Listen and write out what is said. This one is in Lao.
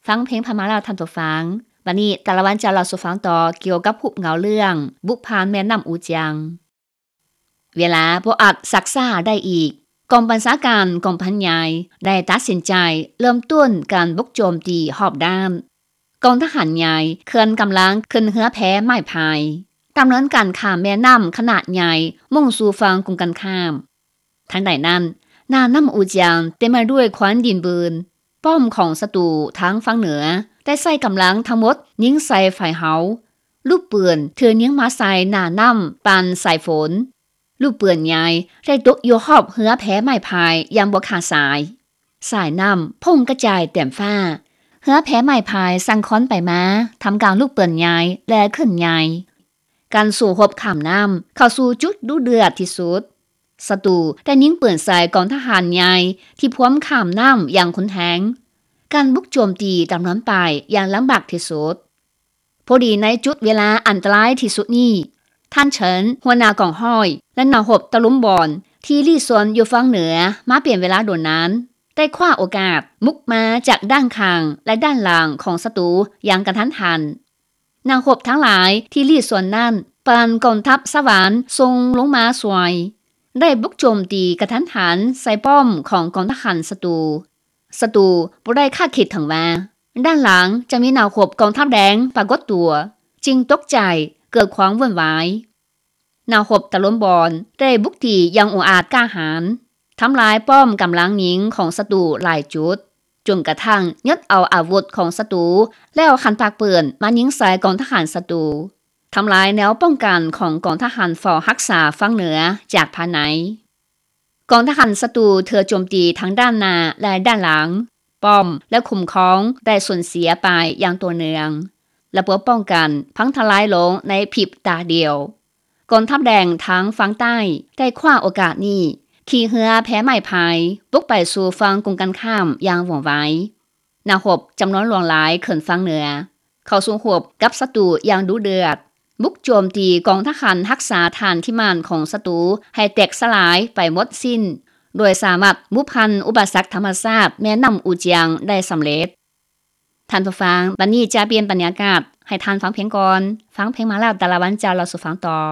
ຟັງເພງພະມ້າແລ້ວທ່ານຜູ້ຟັງ, ບັດນີ້ຕາລະວັນຈະເລົ່າສູ່ຟັງຕໍ່ກ່ຽວກັບຮູບເງົາເລື່ອງບຸກຜ່ານແມ່ນ້ຳອູຈຽງ. ເວລາບໍ່ອາດຊັກຊ້າໄດ້ອີກ, ກອງບັນຊາການກອງພັນໃຫຍ່ໄດ້ຕັດສິນໃຈເລີ່ມຕົ້ນການບຸກໂຈມຕີຮອບດ້ານ. ກອງທະຫານໃຫຍ່ເຄື່ອນກຳລັງຂຶ້ນເຮືອແພໄມ້ພາຍ, ດຳເນີນການຂ້າມແມ່ນ້ຳຂະໜາດໃຫຍ່ມຸ່ງສູ່ຝັ່ງກົງກັນຂ້າມ. ທັງໃດນັ້ນ, ໜ້ານ້ຳອູຈຽງເຕັມໄປດ້ວຍຄວັນດິນບືນ. ປ້ອມຂອງສັດຕູທາງຝັ່ງເໜືອໄດ້ໃຊ້ກຳລັງທັງໝົດຍິງໃສ່ຝ່າຍເຮົາ. ລູກປືນຖືກຍິງມາໃສ່ໜ້ານ້ຳປານສາຍຝົນ. ລູກປືນໃຫຍ່ໄດ້ຕົກຢູ່ຮອບເຮືອແພໄມ້ພາຍຢ່າງບໍ່ຂາດສາຍ. ສາຍນ້ຳພົ່ງກະຈາຍເຕັມຟ້າ. ເຮືອແພໄມ້ພາຍສັ່ນຄອນໄປມາ ທ່າມກາງລູກປືນໃຫຍ່ ແລະ ຄື້ນໃຫຍ່. ການສູ້ຮົບຂ້າມນ້ຳເຂົ້າສູ່ຈຸດດຸເດືອດທີ່ສຸດ. ສັດຕູໄດ້ຍິງປືນໃສ່ກອງທະຫານໃຫຍ່ທີ່ພວມຂ້າມນ້ຳຢ່າງຮຸນແຮງ. ການບຸກໂຈມຕີດຳເນີນໄປຢ່າງລຳບາກທີ່ສຸດ. ພໍດີໃນຈຸດເວລາອັນຕະລາຍທີ່ສຸດນີ້, ທ່ານເສີນ ຫົວໜ້າກອງຮ້ອຍ ແລະ ນັກຮົບຕະລຸມບອນທີ່ລີ້ຊ່ອນຢູ່ຝັ່ງເໜືອມາເປັນເວລາດົນນານ ໄດ້ຄວ້າໂອກາດບຸກມາຈາກດ້ານຂ້າງ ແລະ ດ້ານຫຼັງຂອງສັດຕູຢ່າງກະທັນຫັນ. ນັກຮົບທັງຫຼາຍທີ່ລີ້ຊ່ອນນັ້ນ ປານກອງທັບສະຫວັນສົ່ງລົງມາຊ່ວຍ, ໄດ້ບຸກໂຈມຕີກະທັນຫັນໃສ່ປ້ອມຂອງກອງທະຫານສັດຕູ. ສັດຕູບໍ່ໄດ້ຄາດຄິດເຖິງວ່າ ດ້ານຫຼັງຈະມີນັກຮົບກອງທັບແດງປາກົດຕົວ, ຈຶ່ງຕົກໃຈເກີດຄວາມວຸ່ນວາຍ. ນັກຮົບຕະລຸມບອນໄດ້ບຸກຕີຢ່າງອົງອາດກ້າຫານ, ທຳລາຍປ້ອມກຳລັງຍິງຂອງສັດຕູຫຼາຍຈຸດ, ຈົນກະທັ່ງຍຶດເອົາອາວຸດຂອງສັດຕູ ແລ້ວຫັນປາກປືນມາຍິງໃສ່ກອງທະຫານສັດຕູ, ທຳລາຍແນວປ້ອງກັນຂອງກອງທະຫານເຝົ້າຮັກສາຝັ່ງເໜືອຈາກພາຍໃນ. ກອງທະຫານສັດຕູຖືກໂຈມຕີທັງດ້ານໜ້າ ແລະ ດ້ານຫຼັງ, ປ້ອມ ແລະ ຄຸ້ມຄອງໄດ້ສູນເສຍໄປຢ່າງຕໍ່ເນື່ອງ. ລະບົບປ້ອງກັນພັງທະລາຍລົງໃນພິບຕາດຽວ. ກອງທັບແດງທາງຝັ່ງໃຕ້ໄດ້ຄວ້າໂອກາດນີ້, ຂີ່ເຮືອແພໄມ້ພາຍບຸກໄປສູ່ຝັ່ງກົງກັນຂ້າມຢ່າງວ່ອງໄວ. ນັກຮົບຈຳນວນຫຼວງຫຼາຍຂຶ້ນຝັ່ງເໜືອ, ເຂົ້າສູ້ຮົບກັບສັດຕູຢ່າງດຸເດືອດ, ບຸກໂຈມຕີກອງທະຫານຮັກສາຖານທີ່ໝັ້ນຂອງສັດຕູໃຫ້ແຕກສະຫຼາຍໄປໝົດສິ້ນ, ໂດຍສາມາດບຸກຜ່ານອຸປະສັກທຳມະຊາດແມ່ນ້ຳອູຈຽງໄດ້ສຳເລັດ. ທ່ານຜູ້ຟັງ, ບັດນີ້ຈະປ່ຽນບັນຍາກາດ, ໃຫ້ທ່ານຟັງເພງກ່ອນ. ຟັງເພງມາແລ້ວ, ຕາລະວັນຈະເລົ່າສູ່ຟັງຕໍ່.